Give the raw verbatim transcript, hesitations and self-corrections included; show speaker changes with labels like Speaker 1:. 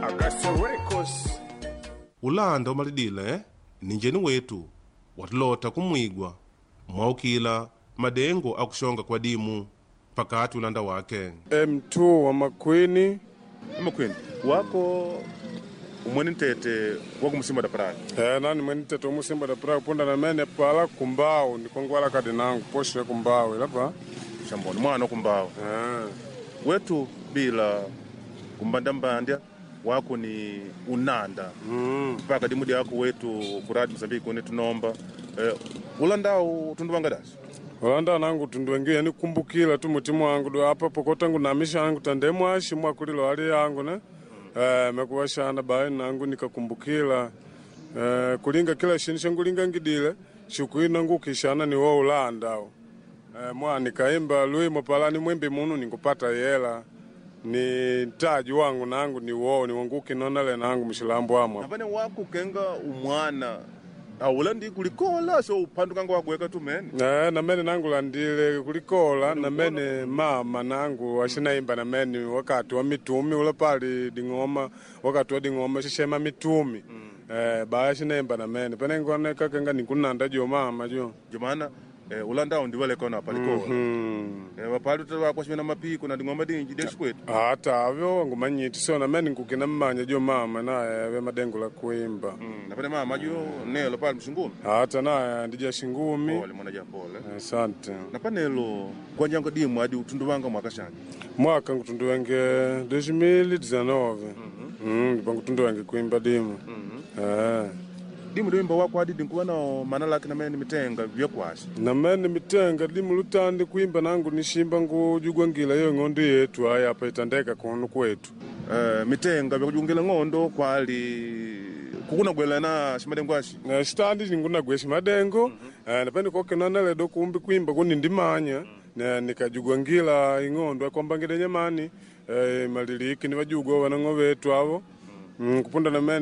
Speaker 1: Augusta Records.
Speaker 2: Ulanda umalidile ni njeni wetu watulota kumwigwa mwaukila madengo akushonga kwa dimu pakati ulanda wake
Speaker 1: M two wa Makwini.
Speaker 2: Makwini wako umweni ntete wakumusimba da praia.
Speaker 1: Eh, nani mweni ntete umusimba da praia punda na mene pala kumbao nikongwala kadi nangu poshe kumbao ilapa
Speaker 2: shamboni mwana kumbao
Speaker 1: eh.
Speaker 2: Wetu bila kumbandambandya wako ni unanda
Speaker 1: Mm.
Speaker 2: mpaka dimudi yako wetu kuradi Mozambique une tunomba eh, ulandao tunduvanga dasi
Speaker 1: Ulanda nangu tundu yani kumbukila tu mutimu wangu do apa pokota ngu namisha angu tande mwashi mwakulilo hali yangu ne mm. Eh, mekuwashana bae nangu nikakumbukila eh, kulinga kila shini shangulinga ngidile shukuina ngukishana ni wo ulanda eh, mwa nikaimba lwimo palani mwimbi munu nikupata yela ni ntaji wangu nangu ni wo ni wanguki nonale nangu mshilambo amwa
Speaker 2: napane wako kenga umwana aulandi kulikola so upandukanga wagweka tumene
Speaker 1: Eh, namene nangu landile kulikola namene mama nangu ashinaimba namene wakati wa mitumi ula pali ding'oma wakati wa ding'oma shishema mitumi mm. Eh, baya ashinaimba namene pene ngoneka kenga nikunanda jo mama jo
Speaker 2: jomana eh, ulandao ndiwalekona palikola
Speaker 1: mm.
Speaker 2: eh, wapali utawakwashimena mapiko na ding'oma dinji deshikwete
Speaker 1: Hata avyo ngumanyiti so namene nkukina mmanya jo mama naye ave madengo la kuimba
Speaker 2: mm. napane mama jo nelo pali mshingumi
Speaker 1: hata naye ndija shingumi
Speaker 2: pole mwana ja pole
Speaker 1: asante
Speaker 2: napanelo kwanjango dimu adi utunduvanga mwaka shanje
Speaker 1: mwaka ngutunduwenge dois mil e dezenove mm ndipo ngutunduwenge kuimba dimu eh
Speaker 2: dimu dimba wako adi dinkuwa nao mana lake namene mitenga vyakwasi
Speaker 1: namene mitenga dimu lutandi kuimba nangu nishimba ngujugwangila iyo ng'ondo yetu aya apa itandeka kunu kwetu
Speaker 2: eh, mitenga vyakujungila ng'ondo kwali kukunagwelana shimadengo ashi
Speaker 1: Na sitandi ningunagwesha madengo eh, napene kokenanaledo kumbi kuimba kuni ndimanya na nikajugwangila ing'ondo akwambangile nyamani eh, maliliki ni vajugwa wanang'o vetu avo mm, kupunda namene.